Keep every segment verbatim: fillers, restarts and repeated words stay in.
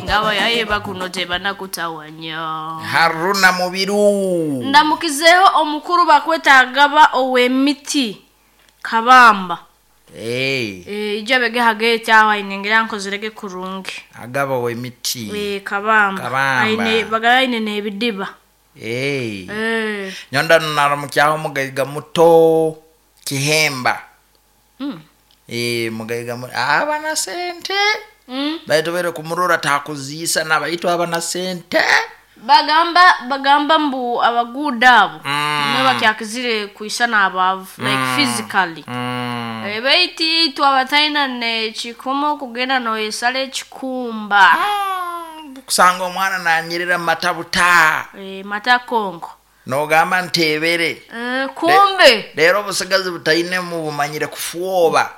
Ngaba bakuno tebanakutawanya. Haruna Mubiru. Ndamukizeho omukuru bakwetagaba ow'emiti Kabamba. Hey. Eh ijja bege hagete aho ainengera nkozerege kurungi. Agaba w'emiti. Eh Kabamba. Kabamba. Aine bagala aine ebidiba. Hey. Eh. Nyonda naramukyaho mugaiga muto Kihemba. Mm. Eh mugaiga muto abana sente. Mm. Baitu bere kumurora takuziisa nabaitwa abana sente. Bagamba bagamba mbu abaguda abo Mm. mm. bakyakizire kuisana abavu mm. like physically. Mm. E, baiti twabataina ne kikomo kugenda noyesala ekikumba. Mm. Kusanga omwana nanyirira matabuta. E, mata kongo. Nogamba ntebere. E, kumbe. Leero obusigazi butaine mu bumanyire kufuoba.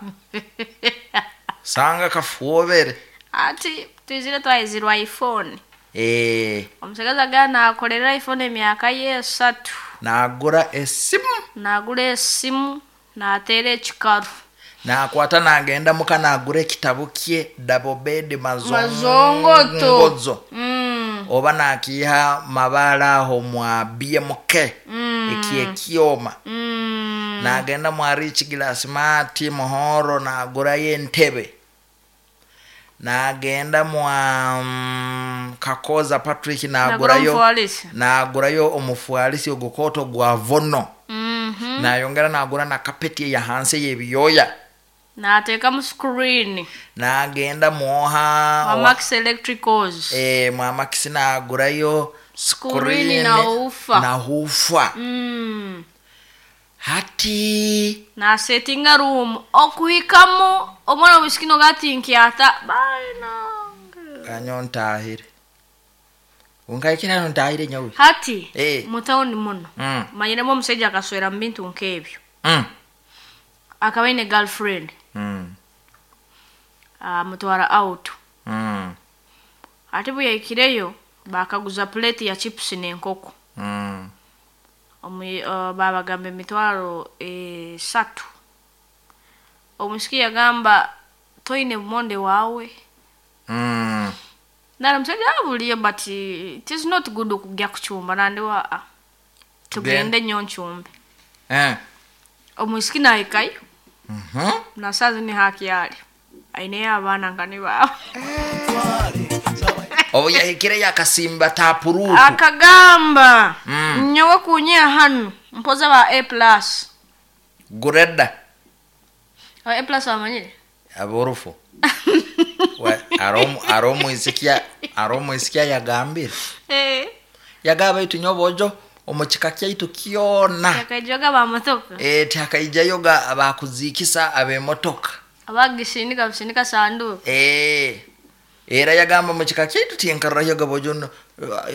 Sanga kafuobere. Ati twizire twayizirwa iPhone. Eh. Omusigazi agana akolera iPhone emyaka ye esatu. Nagura esimu. Nagura esimu nateera ekikaru. Nakwata nagenda muka nagura ekitabo kye double bed mazongoto. Mazongoto. Mm. Oba nakiha mabala aho mwa B M K. Mm. Ekyekyoma. Mm. Nagenda mwa Rich Glass Mati Muhoro nagura entebe. Nagenda mwa mm, Kakoza Patrick nagurayo nagurayo omufualisi ogukoto gwa vono. Mm -hmm. Nayongera nagura na kapeti ya hanse y'ebiyoya. Nateeka mu screen. Nagenda mwoha mwa Max Electricals. Eh mwa Max nagurayo screen na ufa. Na ufa. Mm. Hati na settinga room okuhikamu omwana omusikino gati nkyata baina kanyo ntahire ungaikira ntahire nyawe hati eh. Mu town muno mm. manyiremu omusajja akaswera mu bintu nk'ebyo mm. Akaba aine girlfriend mm. Amutwara out mm. Ate bwe yahikireyo bakaguza plate ya chips n'enkoko mm. Omu, uh, babagamba emitwaro esatu. Omusiki yagamba toine monde wawe. Mm. Nara musajja abuliyo but it is not good okujja kuchumba nandi wa tugende nnyo nchumbe. Eh. Omusiki nahikayo. Mhm. Na sazi ni haki yali. Aineyo abaana nga ni baawe. Obu yahikire yakasimba tapuruku. Akagamba mm. Nyowe kunyia hanu mpoza ba A plus. Gureda. Aba A plus abamanyire? Aborufu. We aromu aromu isikia aromu isikia yagambire. Eh. Yagaba itu nyobojo omukika kyaitu kyona. Yakaijoga ba motoka. Eh takaijayoga abakuzikisa abemotoka. Abagisindika bisindika sanduku. Eh. Era yagamba mu kika kyaitu tinkarrayoga bojo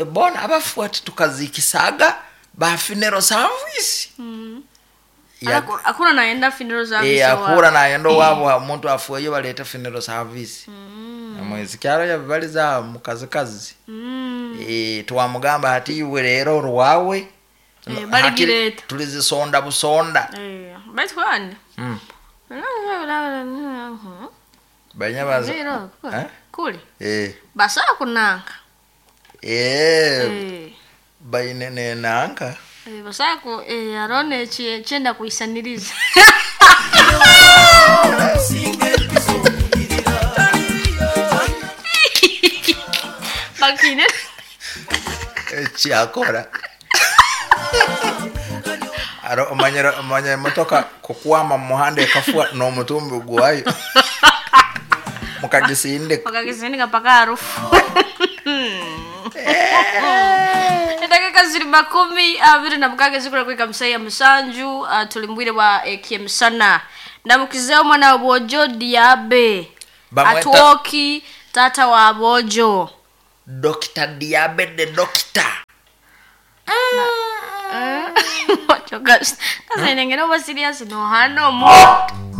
bona abafu ati tukazikisaga ba funeral service. Mm. Ya, akura naenda funeral service. Eh akura naenda wabo omuntu afueyo baleta funeral service. Mm. Amwezi kyaro yabaliza mukazi kazi. Mm. Eh twamugamba ati iwe rero rwawe. Eh baligireta. Tulizisonda busonda. Eh baitu kwani? Mm. Banyabaza. Eh? Kuli. Eh. Basa kunanka. Eh. Eh. Baine nenanka. Eh basa ku eh arone chenda kuisaniriza. Bakine. Eh chiakora. Aro omanyera omanya motoka kukwama muhanda ekafua no mutumbi gwayo. Mukagisindika. Mukagisindika paka harufu. Edakika ziri makumi abiri na mukaaga zikura kuika musaya musanju uh, tulimbwire wa ekyemisana. Ndamukizeho mwana wa Bojo Diabe. Bamweta Atuoki tata wa Bojo. Doctor Diabe the doctor. Ocho gas. Kasa inengera oba serious no hano mu.